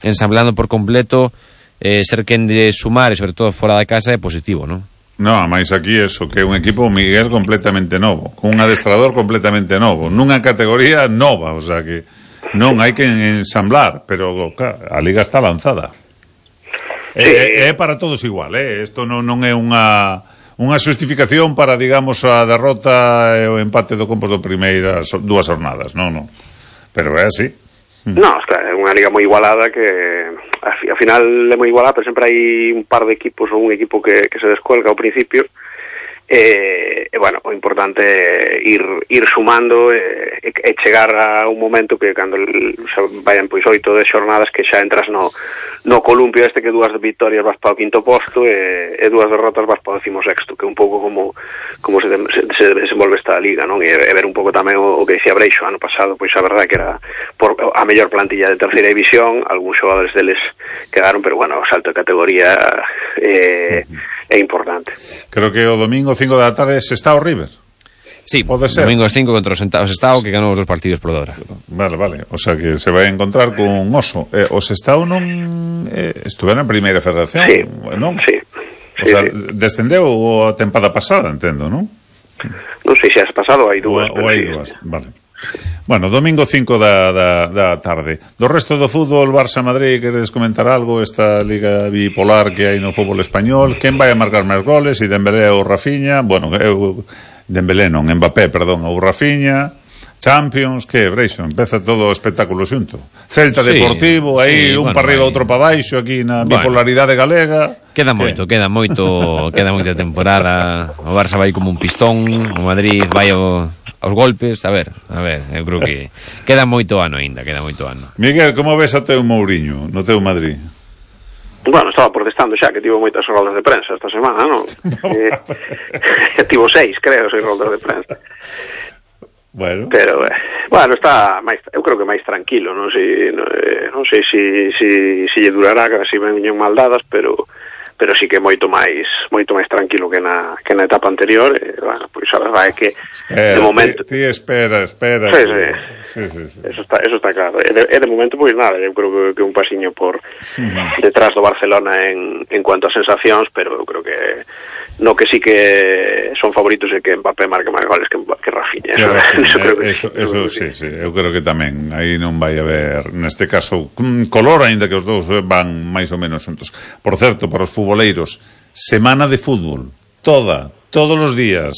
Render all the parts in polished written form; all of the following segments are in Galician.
ensamblando por completo, ser quen de sumar, e sobre todo fora da casa, é positivo, non? No, máis aquí eso, que é un equipo, Miguel, completamente novo, con un adestrador completamente novo, nunha categoría nova, o sea que non hai que ensamblar, pero claro, a Liga está lanzada. É para todos igual, isto non é unha xustificación para, digamos, a derrota e o empate do Compos do primeiras 2 jornadas, non. Pero é así. No, claro, é unha liga moi igualada que ao final é moi igualada, pero sempre hai un par de equipos ou un equipo que se descuelga ao principio e bueno, o importante é ir sumando e chegar a un momento que cando vayan pois 8 de xornadas que xa entras no columpio este, que 2 victorias vas para o 5º posto e 2 derrotas vas para o 16º, que é un pouco como se desenvolve esta liga, non? E ver un pouco tamén o que dicía Breixo ano pasado, pois a verdade que era por a mellor plantilla de terceira división, algúns xogadores deles quedaron, pero bueno, o salto de categoría é importante. Creo que o domingo 5 da tarde se está o River. Sí, pode ser. Domingo 5 contra o Sestao, que ganou os 2 partidos por 2. Vale, o sea que se vai a encontrar con Oso. O Sestao non estuveron en primeira federación, sí, non? Sí. O sea, descendeu a tempada pasada, entendo, non? Non sei se has pasado, hai 2. Ou hai 2, vale. Bueno, domingo 5 da tarde. Do resto do fútbol, Barça-Madrid, queres comentar algo? Esta liga bipolar que hai no fútbol español, quen vai a marcar máis goles? E Dembélé ou Rafinha? Bueno, Dembélé non, Mbappé, perdón, ou Rafinha. Champions, que, Breixo, empeza todo o espectáculo xunto. Celta Deportivo, aí un para arriba, outro para baixo, aquí na bipolaridade galega. Queda moita temporada. O Barça vai como un pistón, o Madrid vai aos golpes. A ver, eu creo que queda moito ano aínda, Miguel, como ves a teu Mourinho no teu Madrid? Bueno, estaba protestando xa, que tivo moitas roldas de prensa esta semana, non? Tivo 6, creo, 6 roldas de prensa. Bueno, pero está máis, eu creo que máis tranquilo, non sei se lle durará, se veñen mal dadas, pero sí que moito máis tranquilo que na etapa anterior. Bueno, pois a verdade é que de momento ti espera. Sí. Eso está claro. E de momento pois nada, eu creo que un pasiño por detrás do Barcelona en cuanto a sensacións, pero eu creo que no que sí que son favoritos é que Mbappé marque máis goles que Rafinha. Eso sí, eu creo que tamén aí non vai haber, neste caso, color, aínda que os dous van máis ou menos xuntos. Por certo, para os futboleiros, semana de fútbol, todos os días.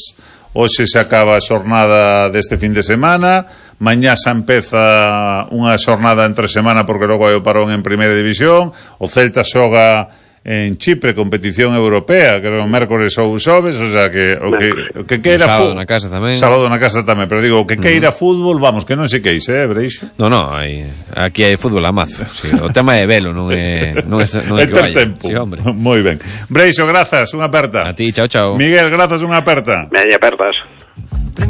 Hoxe se acaba a xornada deste fin de semana, mañá xa empeza unha xornada entre semana porque logo hai o parón en primeira división, o Celta xoga en Chipre, competición europea, creo mércores ou xoves, o sea que o que queira sábado na casa tamén, pero digo, o que queira fútbol, vamos, que non se queixe, Breixo. No, aquí hai fútbol a mazo. Sí, o tema é velo, non é que vaya. Tempo. Sí, hombre. Moi ben. Breixo, grazas, unha aperta. A ti, chao. Miguel, grazas, unha aperta. Meña apertas.